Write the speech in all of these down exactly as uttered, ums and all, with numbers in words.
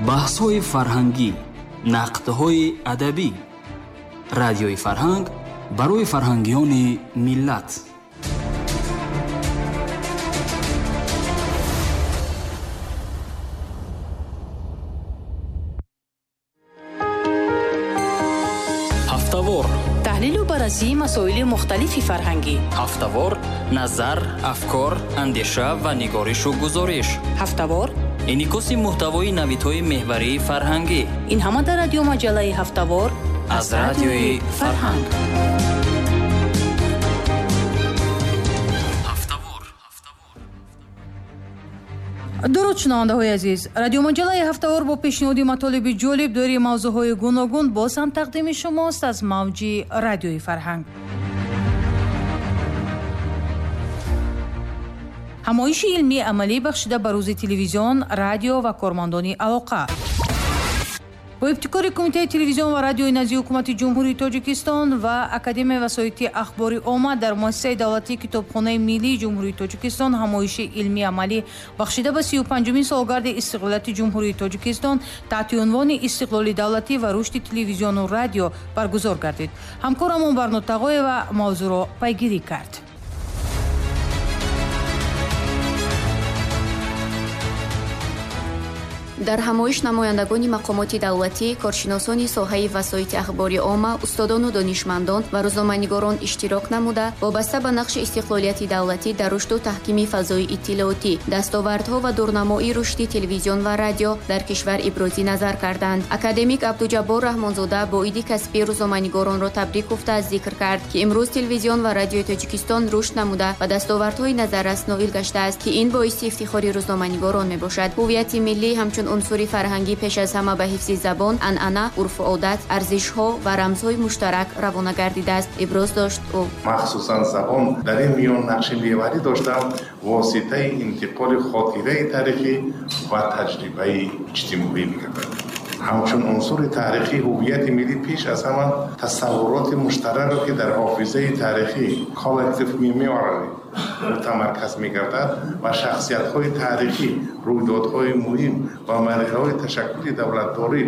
Баҳсҳои фарҳангӣ, нақдҳои адабӣ. Радиои Фарҳанг барои фарҳангиёни миллат. Ҳафтавор. Таҳлилу баррасии масоили мухталифи фарҳангӣ. Ҳафтавор, назар, афкор, андеша ва нигоришу гузориш. Ҳафтавор. Инъикоси муҳтавои навидҳои меҳварии фарҳангӣ. Ин ҳама дар радиомаҷаллаи Ҳафтавор аз радиои Фарҳанг. Дуруд, шунавандаҳои азиз. Радиомаҷаллаи Ҳафтавор бо пешниҳоди матолиби ҷолиб доири мавзӯъҳои гуногун боз ҳам тақдими шумост аз мавҷи радиои Фарҳанг. Ҳамоиши илмии амалӣ бахшида ба рӯзи телевизион, радио ва кормандони алоқа. Бо ибтикори Кумитаи телевизион ва радиои назди Ҳукумати Ҷумҳурии Тоҷикистон ва Академияи васоити ахбори омма дар муассисаи давлатии Китобхонаи миллии Ҷумҳурии Тоҷикистон ҳамоиши илмии амалӣ бахшида ба сию панҷумин солгарди истиқлолияти Ҷумҳурии Тоҷикистон таҳти унвони Истиқлоли давлатӣ ва рушди телевизиону радио баргузор гардид. Ҳамкорамон Барно Тағоева мавзӯъро пайгирӣ кард. Дар ҳамоиш намояндагони мақомоти давлатӣ, коршиносони соҳаи васоити ахбори омма, устодону донишмандон ва рӯзноманигорон иштирок намуда, вобаста ба нақши истиқлолияти давлатӣ дар рушду таҳкими фазои иттилоотӣ, дастовардҳо ва дурнамои рушди телевизион ва радио дар кишвар ибрози назар карданд. Академик Абдуҷаббор Раҳмонзода бо иди касбии рӯзноманигоронро табрик гуфта зикр кард, ки имрӯз телевизион ва радиои Тоҷикистон рушд намуда ва дастовардҳои назаррас ноил гаштааст, ки ин боиси ифтихори рӯзноманигорон мебошад. Ҳуввияти миллӣ ҳамчун унсури фарҳангӣ пеш аз ҳама ба ҳифзи забон, анъана, урфу одат, арзишҳо ва рамзҳои муштарак равона гардидааст, иброз дошт ӯ. Махсусан забон дар ин миён нақши меҳварӣ доштанд, воситаи интиқоли хотираи таърихӣ ва таҷрибаи иҷтимоӣ мегардад. Ҳамчун унсури таърихӣ ҳуввияти миллӣ пеш аз ҳама тасаввуроти муштаракро, ки дар ҳофизаи таърихӣ collective memory мутамарказ мегардад ва шахсиятҳои таърихӣ, рӯйдодҳои муҳим ва марҳилаҳои ташаккули давлатдорӣ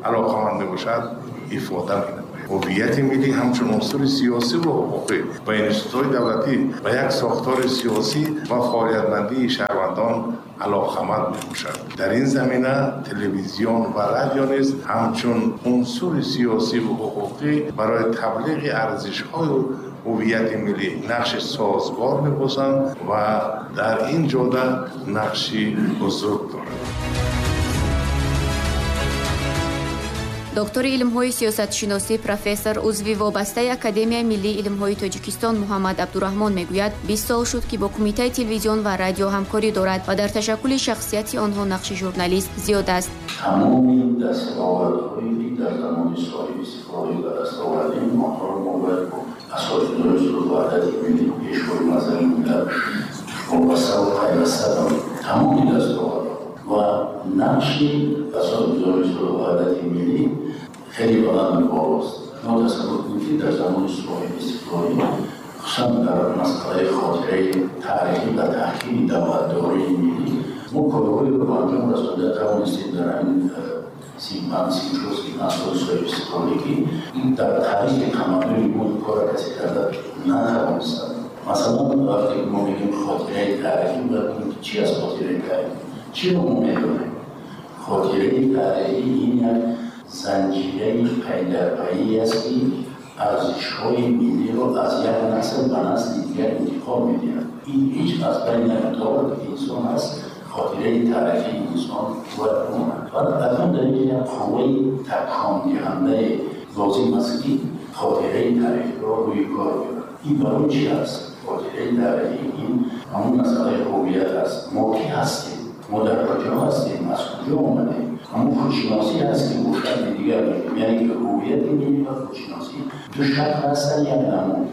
алоқаманд мебошад, ифода менамояд. Ҳуввияти миллӣ ҳамчун унсури сиёсӣ ва ҳуқуқӣ ба институтҳои давлатӣ ва як сохтори сиёсӣ ва фаъолиятмандии шаҳрвандон алоқаманд мебошад. Дар ин замина телевизион ва радио низ ҳамчун унсури сиёсӣ ва ҳуқуқӣ барои таблиғи арзишҳои ҳуввияти миллӣ нақши созгор мебошанд ва дар ин ҷода нақши бузург доранд. Доктори илмҳои сиёсатшиносӣ, профессор, узви вобастаи Академияи миллии илмҳои Тоҷикистон Муҳаммад Абдураҳмон мегӯяд, бист сол шуд, ки бо Кумитаи телевизион ва радио ҳамкорӣ дорад ва дар ташаккули шахсияти онҳо нақши журналист зиёд аст. Тамоми дастовардҳое, ки дар замони соҳиби истиқлолӣ ба даст овардем, онҳоро мо бояд бо асосгузори сулҳу ваҳдати миллӣ, пешвои муаззами миллат вобаста ва пайваста дорем. Тамоми дастовардҳо ва нақши асосгузори сулҳу ваҳдати миллӣ хеле баланд болост. Мо тасаввур кунем, ки дар замони соҳиби истиқлолӣ, хусусан дар масъалаи хотираи таърихӣ ва таҳкими давлатдории миллӣ, мо корҳоеро ба анҷом расонда тавонистем дар ҳамин си панҷ, си чор, си панҷ соли соҳиби истиқлолӣ, ки дар таърихи тамаддуни мо ин корро касе карда натавонистанд. Масалан, вақте ки мо мегӯем хотираи таърихӣ, бояд бигӯем, ки чӣ аст хотираи таърихӣ? Чиро мо медонем? Хотираи таърихӣ ин як занҷираи пайдарпайӣ аст, ки арзишҳои миллиро аз як насл ба насли дигар интиқол медиҳад. Ин ҳеҷ аз байн наметавонад, ки инсон аст, хотираи таърихии инсон бояд бимонад. Ва аз он далел як қувваи такондиҳандаи лозим аст, ки хотираи таърихиро рӯи кор биёрад. Ин барои чӣ аст? Хотираи таърихӣ ин ҳамон масъалаи ҳуввият аст. Мо кӣ ҳастем? Мо дар куҷо ҳастем? Аз куҷо омадем? Ҳамон худшиносӣ аст, ки бо шакли дигар мегӯем. Яъне ки ҳуввияти миллӣ ва худшиносӣ ду шакл ҳастанд, як намуд.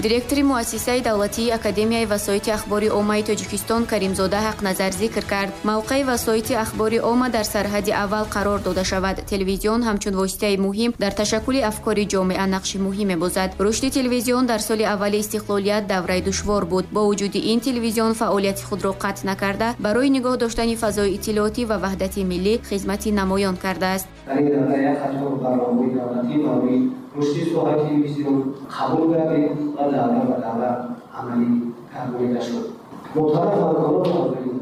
Директори муассисаи давлатии Академияи васоити ахбори оммаи Тоҷикистон Каримзода Ҳақназар зикр кард. Мавқеи васоити ахбори омма дар сарҳади аввал қарор дода шавад. Телевизион ҳамчун воситаи муҳим дар ташаккули афкори ҷомеа нақши муҳим мебозад. Рушди телевизион дар соли аввали истиқлолият давраи душвор буд. Бо вуҷуди ин телевизион фаъолияти худро қатъ накарда, барои нигоҳ доштани фазои иттилоотӣ ва ваҳдати миллӣ хизмати намоён кардааст. Дар ин давра як қатор барномаҳои давлатӣ барои рушди соҳаи телевизион қабул гардид ва давра ба давра амалӣ гардонида шуд. Муҳтарам ҳамкорон ва ҳозирин,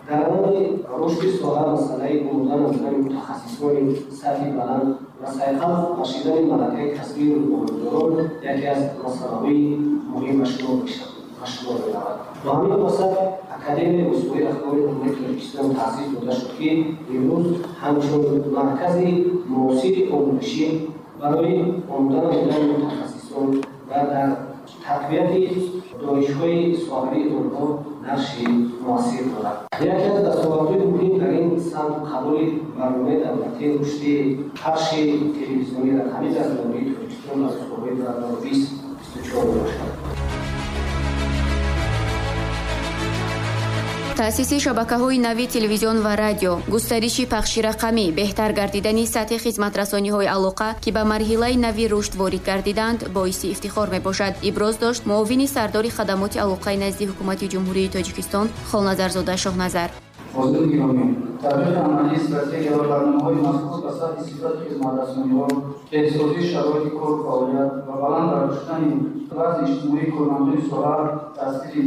дар раванди рушди соҳа масъалаи омода намудани мутахассисони сатҳи баланд ва сайқал бахшидани малакаи касбии рӯзноманигорон яке аз масъалаҳои муҳим ба шумор меравад. Бо ҳамин мақсад Академияи васоити ахбори оммаи Тоҷикистон таъсис дода шуд, ки имрӯз ҳамчун маркази муосири омӯзишӣ барои омода намудани мутахассисон ва дар тақвияти донишҳои соҳавии онҳо нақши муассир дорад. Яке аз дастовардҳои муҳим дар ин самт қабули барномаи давлатии рушди пахши телевизионии рақамӣ дар Ҷумҳурии Тоҷикистон аз солҳои ду ҳазору бист бисту чор мебошад. Таъсиси шабакаҳои нави телевизион ва радио, густариши пахши рақамӣ, беҳтар гардидани сатҳи хизматрасониҳои алоқа, ки ба марҳилаи нави рушд ворид гардиданд, боиси ифтихор мебошад. Иброз дошт муовини сардори хадамоти алоқаи назди Ҳукумати Ҷумҳурии Тоҷикистон Холназарзода Шоҳназар. Ҳозири гиромӣ, татбиқи амалии стратегия ва барномаҳои мазкур ба сатҳи сифати хизматрасониҳо, беҳсозии шароити кору фаъолият ва баланд бардоштани вазъи иҷтимоии кормандони соҳа таъсири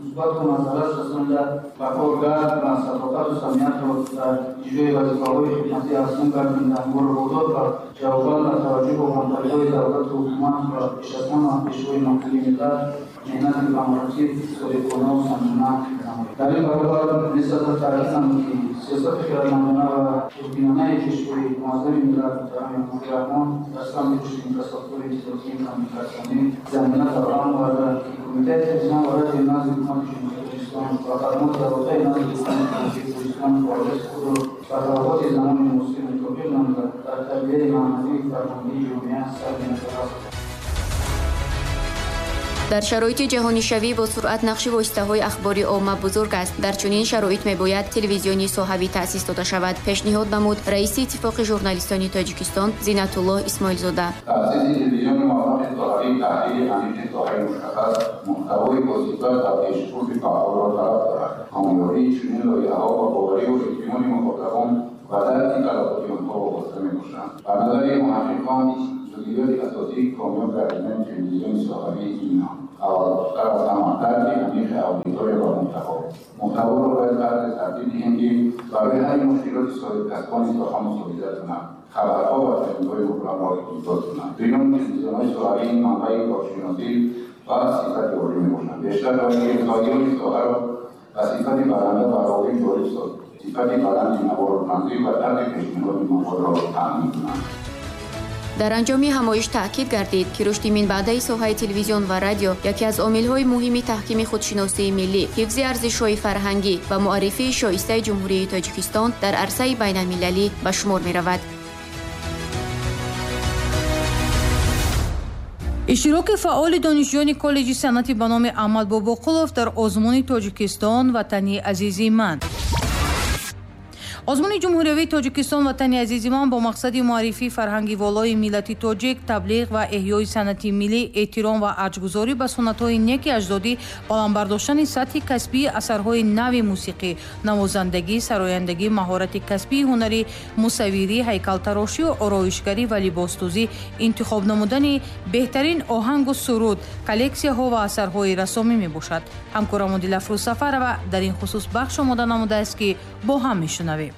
мусбату назаррас расонида, ба коргар ва садоқату самимиятро дар иҷрои вазифаҳои хидматӣ афзун гардида, мурводор ва ҷавобгар ба таваҷҷӯҳу ғамхориҳои давлату ҳукумат ва пеш аз ҳама пешвои муҳтарами миллат меҳнати бамаротиб, содиқонаву самимона намояд. Дар ин баробар месазад таъкид намуд, ки сиёсати хирадмандона ва худбинонаи пешвои муаззами миллат муҳтарам Эмомалӣ Раҳмон дар самти рушди инфраструктураи иттилоотии коммуникатсионӣ замина фароҳам оварда, ки Кумитаи телевизион ва радиои назди Ҳукумати Ҷумҳурии Тоҷикистон ва хадамоти алоқаи назди Ҳукумати Ҷумҳурии Тоҷикистон фаъолияти худро ба талаботи замони муосир мутобиқ намуда, дар тарбияи маънавию фарҳангии ҷомеа саҳми назаррас дорад. Дар шароити ҷаҳонишавӣ бо суръат нақши воситаҳои ахбори омма бузург аст. Дар чунин шароит мебояд телевизиони соҳавӣ таъсис дода шавад, пешниҳод намуд раиси Иттифоқи журналистони Тоҷикистон Зинатуллоҳ Исмоилзода. Таъсиси телевизиони муваффақи соҳавӣ таҳлили амиқи соҳаи мушаххас, муҳтавои босифат ва пешбурди фаъолро талаб дорад. Ҳамёрии чунин лоиҳаҳо ба бовариву эътимоди мухотабон ва дарки талаботи онҳо вобаста мебошанд. Ба назари муҳаққиқон, ҷузъиёти асосии комёб гардидани телевизиони соҳавӣ инҳо: аввалтар аз ҳама дарки амиқи аудитория ва муҳтаво. Муҳтаворо бояд тарзе тартиб диҳем, ки барои ҳалли мушкилоти соҳибкасбони соҳа мусоидат кунад, хабарҳо ва таҳлилҳои мубрамро эҷод кунад. Дуюм, телевизионҳои соҳавӣ манбаи коршиносӣ ва сифати олӣ мебошанд. Бештар бояд гирдҳоиёни соҳаро ба сифати баранда ва ровии ҷолиб созад, сифати баланди навору танзим ва тарзи пешниҳоди маводро таъмин кунанд. Дар анҷоми ҳамоиш таъкид гардид, ки рушди минбаъдаи соҳаи телевизион ва радио яке аз омилҳои муҳими таҳкими худшиносии миллӣ, ҳифзи арзишҳои фарҳангӣ ва муаррифии шоистаи Ҷумҳурии Тоҷикистон дар арсаи байналмилалӣ ба шумор меравад. Иштироки фаъоли донишҷӯёни коллеҷи санъати ба номи Аҳмад Бобоқулов дар озмуни Тоҷикистон «Ватани азизи ман». Озмуни Ҷумҳуриявии Тоҷикистон «Ватани азизи ман» бо мақсади муаррифии фарҳанги волои миллати тоҷик, таблиғ ва эҳёи санъати миллӣ, эҳтиром ва арҷгузорӣ ба суннатҳои неки аҷдодӣ, баланд бардоштани сатҳи касбии асарҳои нави мусиқӣ, навозандагӣ, сарояндагӣ, маҳорати касбии ҳунарӣ, мусаввирӣ, ҳайкалтарошию ороишгарӣ ва либосдӯзӣ, интихоб намудани беҳтарин оҳангу суруд, коллексияҳо ва асарҳои рассомӣ мебошад. Ҳамкорамон Дилафрӯз Сафарова дар ин хусус бахш омода намудааст, ки бо ҳам мешунавем.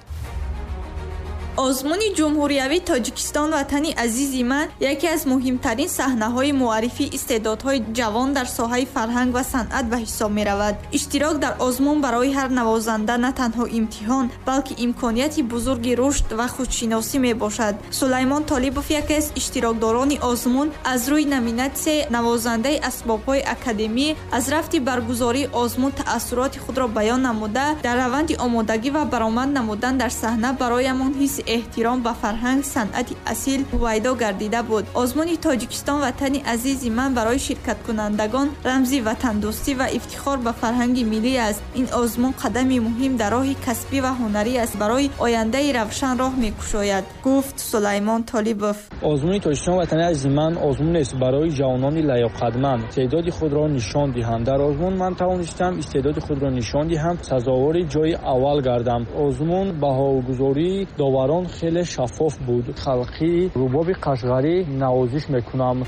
Озмуни Ҷумҳуриявии Тоҷикистон «Ватани азизи ман» яке аз муҳимтарин саҳнаҳои муаррифии истеъдодҳои ҷавон дар соҳаи фарҳанг ва санъат ба ҳисоб меравад. Иштирок дар озмун барои ҳар навозанда на танҳо имтиҳон, балки имконияти бузурги рушд ва худшиносӣ мебошад. Сулаймон Толибов яке аз иштирокдорони озмун аз рӯи номинатсияи навозандаи асбобҳои академӣ аз рафти баргузории озмун таассуроти худро баён намуда, дар раванди омодагӣ ва баромад намудан дар саҳна бароямон ҳисси эҳтиром ба фарҳанг, санъати асил ҳувайдо гардида буд. Озмуни Тоҷикистон ватани азизи ман барои ширкаткунандагон рамзи ватандӯстӣ ва ифтихор ба фарҳанги миллӣ аст. Ин озмун қадами муҳим дар роҳи касбӣ ва ҳунарӣ аст, барои ояндаи равшан роҳ мекушояд, гуфт Сулаймон Толибов. Озмуни Тоҷикистон ватани азизи ман озмунест барои ҷавонони лаёқатманд, истеъдоди худро нишон диҳанд. Дар озмун ман тавонистам истеъдоди худро нишон диҳам, сазовори ҷои аввал гардам. Озмун баҳогузории доварон хеле шаффоф буд. Халқи рубоби Қашғарӣ навозиш мекунам.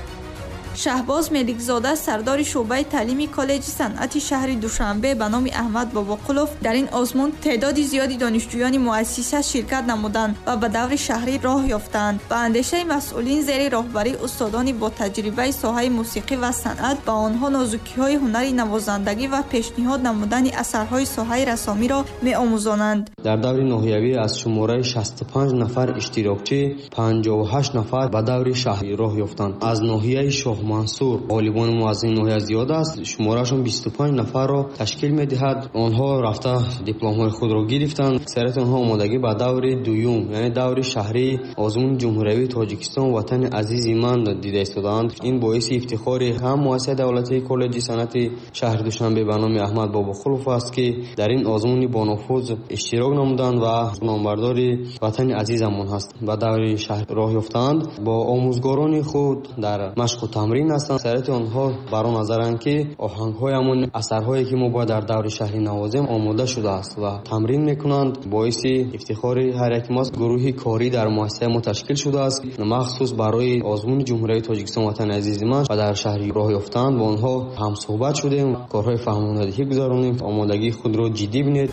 Шаҳбоз Меликзода, сардори шӯъбаи таълими коллеҷи санъати шаҳри Душанбе ба номи Аҳмад Бобоқулов, дар ин озмун теъдоди зиёди донишҷӯёни муассиса ширкат намуданд ва ба даври шаҳрӣ роҳ ёфтанд. Ба андешаи масъулин, зери роҳбарии устодони бо таҷрибаи соҳаи мусиқӣ ва санъат ба онҳо нозукиҳои ҳунари навозандагӣ ва пешниҳод намудани асарҳои соҳаи рассомиро меомӯзонанд. Дар даври ноҳиявӣ аз шумораи шасту панҷ нафар иштирокчӣ панҷоҳу ҳашт нафар ба даври шаҳрӣ роҳ ёфтанд. Аз ноҳияи Шоҳ Мансур ғолибони мо аз ин ноҳия зиёд аст, шуморашон бисту панҷ нафарро ташкил медиҳад. Онҳо рафта дипломҳои худро гирифтанд. Аксарияти онҳо омодагӣ ба даври дуюм, яъне даври шаҳрии озмуни ҷумҳуриявии Тоҷикистон ватани азизи ман дида истодаанд. Ин боиси ифтихори ҳам муассисаи давлатии коллеҷи санъати шаҳри Душанбе ба номи Аҳмад Бобоқулов аст, ки дар ин озмуни бонуфуз иштирок намуданд ва номбардори ватани азизамон ҳаст. Ба даври шаҳр роҳ ёфтаанд. Бо омӯзгорони худ дар машқу тамрин ҳастанд. Аксарияти онҳо бар он назаранд, ки оҳангҳоямон, асарҳое ки мо бояд дар даври шаҳрӣ навозем, омода шудааст ва тамрин мекунанд. Боиси ифтихори ҳар яки мост. Гурӯҳи корӣ дар муассисаи мо ташкил шудааст махсус барои озмуни ҷумҳуриявии Тоҷикистон ватани азизи ман ва дар шаҳри роҳ ёфтаанд. Бо онҳо ҳамсӯҳбат шудем, корҳои фаҳмондадиҳӣ гузаронем. Омодагии худро ҷиддӣ бинед.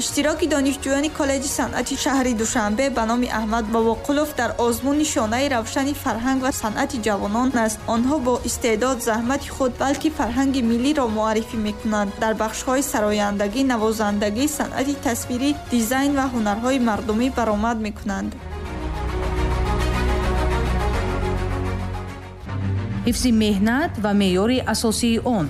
Иштироки донишҷӯёни коллеҷи санъати шаҳри Душанбе ба номи Аҳмад Бобоқулов дар озмун нишонаи равшани фарҳанг ва санъати ҷавонон аст. Онҳо бо истеъдод, заҳмати худ, балки фарҳанги миллиро муаррифӣ мекунанд. Дар бахшҳои сарояндагӣ, навозандагӣ, санъати тасвирӣ, дизайн ва ҳунарҳои мардумӣ баромад мекунанд. Ҳифзи меҳнат ва меъёри асосии он.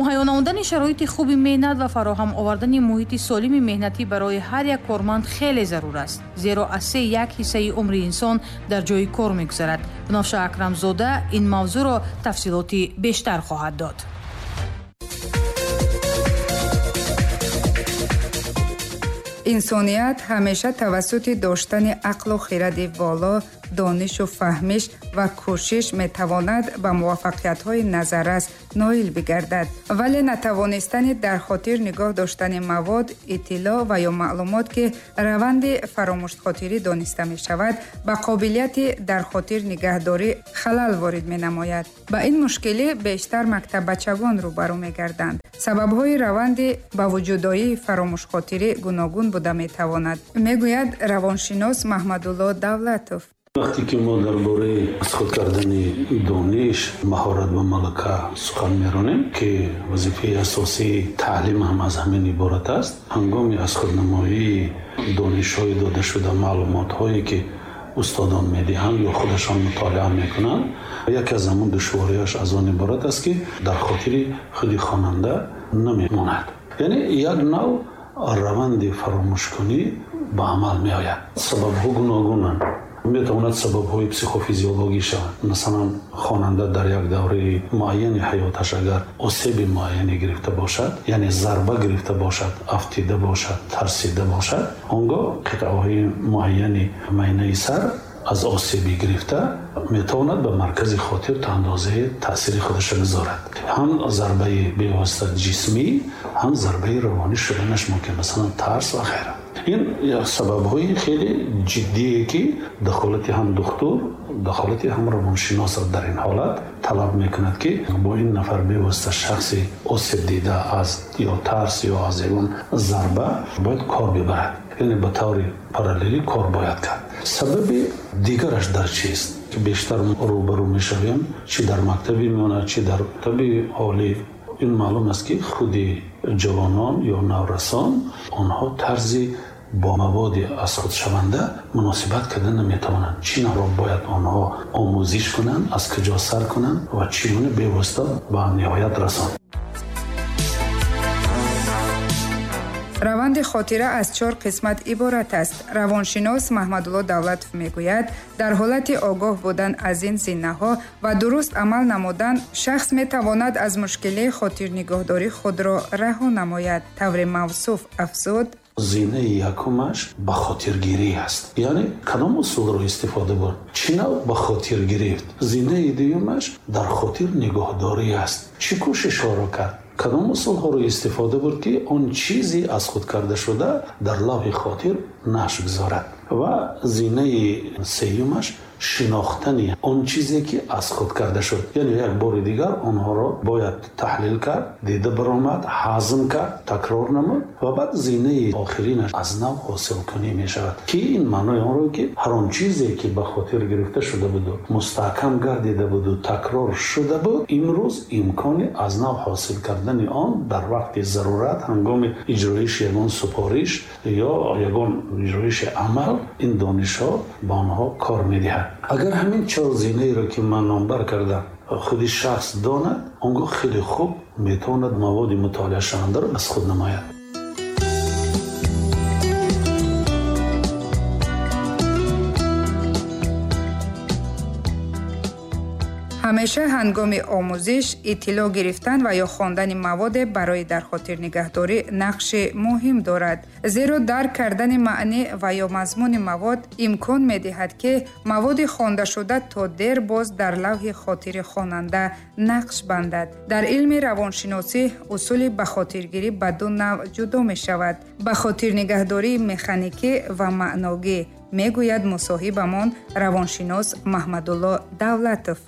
Муҳайё намудани шароити хуби меҳнат ва фароҳам овардани муҳити солими меҳнатӣ барои ҳар як корманд хеле зарур аст, зеро аз се як ҳиссаи умри инсон дар ҷои кор мегузарад. Бунафша Акрамзода ин мавзӯъро тафсилоти бештар хоҳад дод. Инсоният ҳамеша тавассути доштани ақлу хиради воло, донишу фаҳмиш ва кӯшиш метавонад ба муваффақиятҳои назаррас ноил бигардад. Вале натавонистани дар хотир нигоҳ доштани мавод, иттилоъ ва ё маълумот, ки раванди фаромӯшхотирӣ дониста мешавад, ба қобилияти дар хотир нигаҳдорӣ халал ворид менамояд. Ба ин мушкилӣ бештар мактаббачагон рӯбарӯ мегарданд. Сабабҳои раванди ба вуҷудоии фаромӯшхотирӣ гуногун буда метавонад, мегӯяд равоншинос Маҳмадулло Давлатов. Вақте ки мо дар бораи аз худ кардани дониш, маҳорат ва малака сухан меронем, ки вазифаи асосии таълим ҳам аз ҳамин иборат аст, ҳангоми аз худнамоии донишҳои додашуда, маълумотҳое ки устодон медиҳанд ё худашон мутолиа мекунанд, яке аз ҳамон душвориҳояш аз он иборат аст, ки дар хотири худи хонанда намемонад. Яъне як нав раванди фаромӯшкунӣ ба амал меояд. Сабабҳо гуногунанд. Метавонад сабабҳои психофизиологӣ шаванд. Масалан, хонанда дар як давраи муайяни ҳаёташ агар осеби муайяне гирифта бошад, яъне зарба гирифта бошад, афтида бошад, тарсида бошад, он гоҳ қитъаҳои муайяни майнаи сар аз осеби гирифта метавонад ба маркази хотир то андозаи таъсири худашро гузорад. Ҳам зарбаи бевосита ҷисмӣ, ҳам зарбаи равонӣ шуданаш мумкин, масалан тарс ва ғайра. Ин сабабҳои хеле ҷиддие, ки дахолати ҳам духтур, дахолати ҳам равоншиносро дар ин ҳолат талаб мекунад, ки бо ин нафар бевосита шахси осебдида аз ё тарс ё аз ягон зарба бояд кор бибарад. Яъне ба таври параллелӣ кор бояд кард. Сабаби дигараш дар чист, ки бештар рӯбарӯ мешавем, чӣ дар мактаби миёна, чӣ дар мактаби олӣ? Ин маълум аст, ки худи ҷавонон ё наврасон онҳо тарзи бо маводи аз худшаванда муносибат карда наметавонанд. Чӣ навъро бояд онҳо омӯзиш кунанд, аз куҷо сар кунанд ва чӣ гуна бевосита ба ниҳоят расонанд. Раванди хотира аз чор қисмат иборат аст. Равоншинос Маҳмадулло Давлатов мегӯяд, дар ҳолати огоҳ будан аз ин зинаҳо ва дуруст амал намудан, шахс метавонад аз мушкилии хотирнигоҳдорӣ худро раҳо намояд. Таври мавсуф афзуд: зинаи якумаш ба хотиргирӣ аст, яъне кадом усулро истифода бурд, чӣ навъ ба хотир гирифт. Зинаи дуюмаш дар хотир нигоҳдорӣ аст, чӣ кӯшишҳоро кард, кадом усулҳоро истифода бурд, ки он чизе аз худ карда шуда дар лавҳи хотир нақш гузорад. Ва зинаи сеюмаш шинохтани он чизе ки аз худ карда шуд, яъне як бори дигар онҳоро бояд таҳлил кард, дида баромад, ҳазм кард, такрор намуд ва баъд зинаи охиринаш аз нав ҳосилкунӣ мешавад, ки ин маънои онро ки ҳар он чизе ки ба хотир гирифта шуда буду мустаҳкам гардида буду такрор шуда буд, имрӯз имкони аз нав ҳосил кардани он дар вақти зарурат, ҳангоми иҷроиши ягон супориш ё ягон иҷроиши амал, ин донишҳо ба онҳо кор медиҳад. Агар ҳамин чор зинаеро ки ман номбар кардам худи шахс донад, он гоҳ хеле хуб метавонад маводи мутолиашавандаро аз худ намояд. Ҳамеша ҳангоми омӯзиш, иттилоъ гирифтан ва ё хондани маводе барои дар хотир нигаҳдорӣ нақши муҳим дорад, зеро дарк кардани маънӣ ва ё мазмуни мавод имкон медиҳад, ки маводи хондашуда то дер боз дар лавҳи хотири хонанда нақш бандад. Дар илми равоншиносӣ усули ба хотиргирӣ ба ду навъ ҷудо мешавад: ба хотир нигаҳдории механикӣ ва маъногӣ, мегӯяд мусоҳибамон равоншинос Маҳмадулло Давлатов.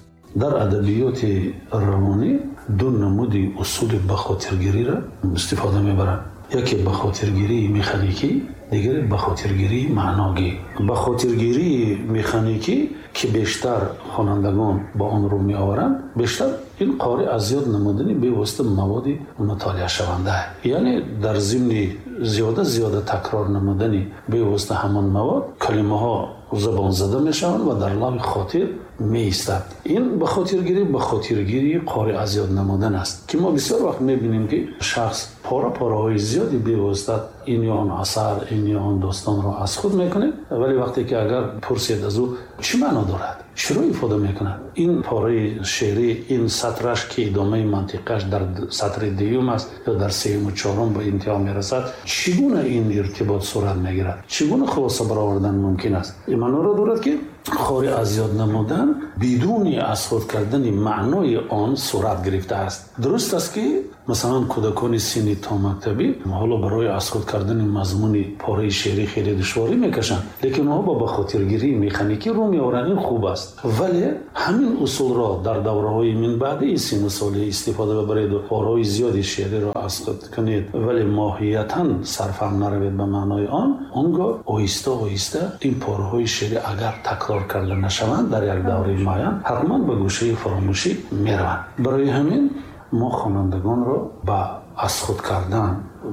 Дар адабиёти равонӣ ду намуди усули ба хотиргириро истифода мебаранд. Яке ба хотиргирии механикӣ, дигаре ба хотиргирии маъногӣ. Ба хотиргирии механикӣ, ки бештар хонандагон ба он рӯ меоваранд, бештар ин қори аз зиёд намудани бевосита маводи мутолиашаванда, яъне дар зимни зиёда зиёда такрор намудани бевосита ҳамон мавод, калимаҳо забонзада мешаванд ва дар лавҳи хотир меистад. Ин ба хотиргирӣ ба хотиргирии қори аз ёд намудан аст, ки мо бисёр вақт мебинем, ки шахс пора пораҳои зиёди бевосита ин ё он асар, ин ё он достонро аз худ мекунад, вале вақте ки агар пурсед аз ӯ чӣ маъно дорад, чиро ифода мекунад, ин пораи шеърӣ, ин сатраш ки идомаи мантиқаш дар сатри дуюм аст ё дар сеюму чорум ба интиҳо мерасад, чӣ гуна ин иртибот сурат мегирад, чӣ гуна хулоса баровардан мумкин аст? Ин маъноро дорад, ки хори аз ёд намудан бидуни аз худ кардани маънои он сурат гирифтааст. Дуруст аст, ки масалан кӯдакони синни томактабӣ ҳоло барои аз худ кардани мазмуни пораи шеърӣ хеле душворӣ мекашанд, лекин онҳо ба хотиргирии механикӣ рӯ меоранд, ин хуб аст. Вале ҳамин усулро дар давраҳои минбаъдии синну солӣ истифода бибаред ва пораҳои зиёди шеъриро аз худ кунед, вале моҳиятан сарфаҳм наравед ба маънои он, он гоҳ оҳиста оҳиста ин пораҳои шеърӣ агар такрор карда нашаванд дар як давраи муайян, ҳатман ба гӯшаи фаромӯшӣ мераванд. Барои ҳамин мо хонандагонро ба аз худ кардан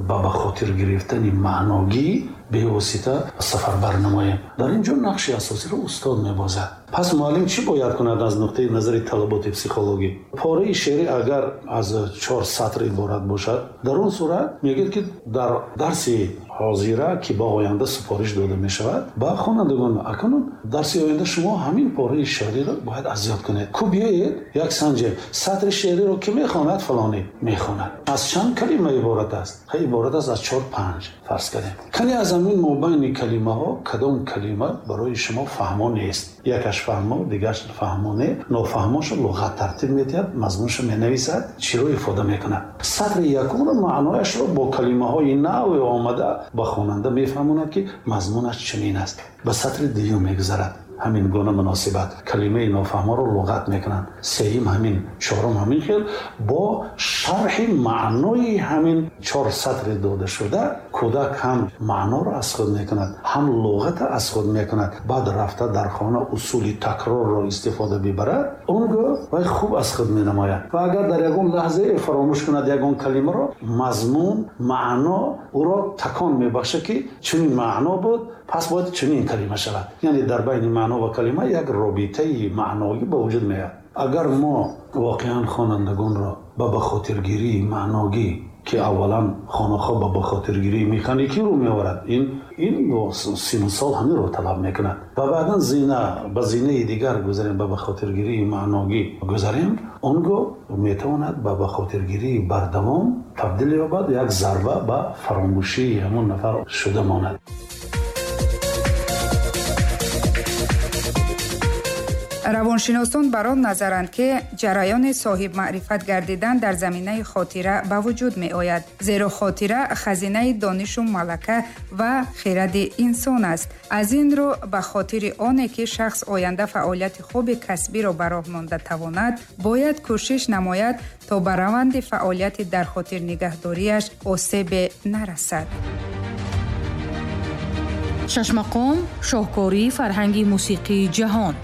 ва ба хотир гирифтани маъногӣ бевосита сафарбар намоем. Дар ин ҷо нақши асосиро устод мебозад. Пас муаллим чӣ бояд кунад аз нуқтаи назари талаботи психологӣ? Пораи шеърӣ агар аз чор сатр иборат бошад, дар он сурат мегӯяд, ки дар дарси ҳозира, ки ба оянда супориш дода мешавад, ба хонандагон акнун дарси оянда шумо ҳамин пораи шеъриро бояд аз ёд кунед. Ку биёед як санҷем, сатри шеъриро ки мехонад, фалонӣ мехонад. Аз чанд калима иборат аст? Иборат аст аз чор панҷ, фарз кардем. Кане аз ҳамин мобайни калимаҳо кадом калима барои шумо фаҳмо нест? Якаш фаҳмо, дигараш фаҳмо не. Нофаҳмошо луғат тартиб медиҳад, мазмуншо менависад, чиро ифода мекунад. Сатри якумро маънояшро бо калимаҳои нави омада ба хонанда мефаҳмонад, ки мазмунаш чунин аст. Ба сатри дуюм мегузарад. Ҳамин гуна муносибат калимаи нофаҳморо луғат мекунанд. Сеюм ҳамин, чорум ҳамин хел бо шарҳи маънои ҳамин чор сатри дода шуда кӯдак ҳам маъноро аз худ мекунад, ҳам луғатро аз худ мекунад. Баъд рафта дар хона усули такрорро истифода бибарад, он гоҳ вай хуб аз худ менамояд. Ва агар дар ягон лаҳзае фаромӯш кунад ягон калимаро, мазмун, маъно ӯро такон мебахшад, ки чунин маъно буд, пас бояд чунин калима шавад. Яъне дар байни маъно ва калима як робитаи маъноӣ ба вуҷуд меояд. Агар мо воқеан хонандагонро ба ба хотиргирии маъногӣ ки аввалан хонахо ба бахотиргирии механикӣ рӯ меоварад, ин ин сину сол ҳаминро талаб мекунад ва баъдан зина ба зинаи дигар гузарем, ба бахотиргирии маъногӣ гузарем, он гоҳ метавонад ба бахотиргирии бардавом табдил ёбад, як зарба ба фаромӯшии ҳамон нафар шуда монад. Равоншиносон бар он назаранд, ки ҷараёни соҳибмаърифат гардидан дар заминаи хотира ба вуҷуд меояд, зеро хотира хазинаи донишу малака ва хиради инсон аст. Аз ин рӯ, ба хотири оне ки шахс оянда фаъолияти хуби касбиро ба роҳ монда тавонад, бояд кӯшиш намояд, то ба раванди фаъолияти дар хотир нигаҳдориаш осебе нарасад. Шашмақом шоҳкории фарҳанги мусиқии ҷаҳон.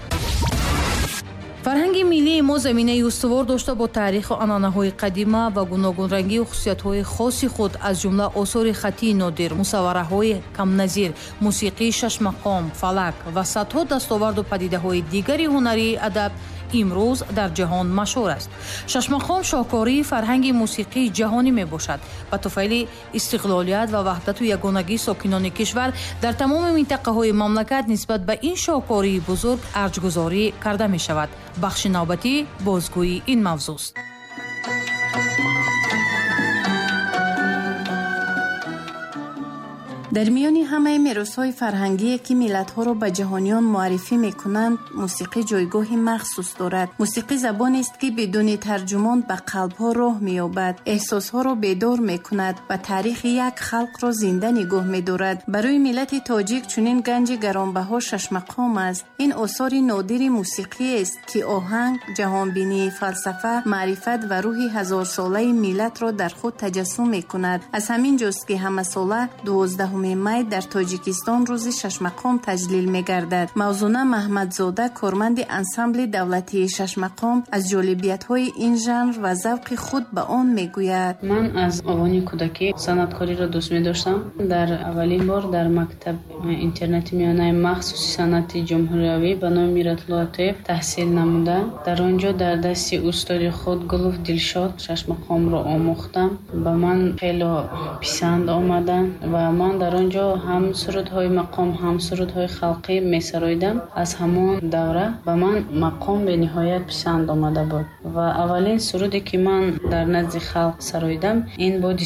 Фарҳанги миллии мо заминаи устувор дошта бо таъриху анъанаҳои қадима ва гуногунрангию хусусиятҳои хоси худ, аз ҷумла осори хаттии нодир, мусаввараҳои камназир, мусиқии шашмақом, фалак ва садҳо дастоварду падидаҳои дигари ҳунарии адаб имрӯз дар ҷаҳон машҳур аст. Шашмақом шоҳкории фарҳанги мусиқии ҷаҳонӣ мебошад. Ба туфайли истиқлолият ва ваҳдату ягонагии сокинони кишвар дар тамоми минтақаҳои мамлакат нисбат ба ин шоҳкории бузург арҷгузорӣ карда мешавад. Бахши навбатӣ бозгӯии ин мавзӯст. Дар миёни ҳамаи меросҳои фарҳангие, ки миллатҳоро ба ҷаҳониён муаррифӣ мекунанд, мусиқӣ ҷойгоҳи махсус дорад. Мусиқӣ забонест, ки бидуни тарҷумон ба қалбҳо роҳ меёбад, эҳсосҳоро бедор мекунад ва таърихи як халқро зинда нигоҳ медорад. Барои миллати тоҷик чунин ганҷи гаронбаҳо шашмақом аст. Ин осори нодири мусиқиест, ки оҳанг, ҷаҳонбинӣ, фалсафа, маърифат ва рӯҳи ҳазорсолаи миллатро дар худ таҷассум мекунад. Аз ҳамин ҷост, ки ҳамасола дувоздаҳуми май дар Тоҷикистон рӯзи шашмақом таҷлил мегардад. Мавзуна Маҳмадзода, корманди ансамбли давлатии шашмақом, аз ҷолибиятҳои ин жанр ва завқи худ ба он мегӯяд. Ман аз овони кӯдакӣ санъаткориро дӯст медоштам. Дар аввалин бор дар мактаб интернати миёнаи махсуси санъати ҷумҳуриявӣ ба номи Миратулло Атоев таҳсил намуда. Дар он ҷо дар дасти устоди худ Гулов Дилшод шашмақомро омӯхтам. Ба ман хело писанд омаданд ва ман дар он ҷо ҳам сурудҳои мақом, ҳам сурудҳои халқӣ месароидам. Аз ҳамон давра ба ман мақом бениҳоят писанд омада буд ва аввалин суруде, ки ман дар назди халқ сароидам, ин боди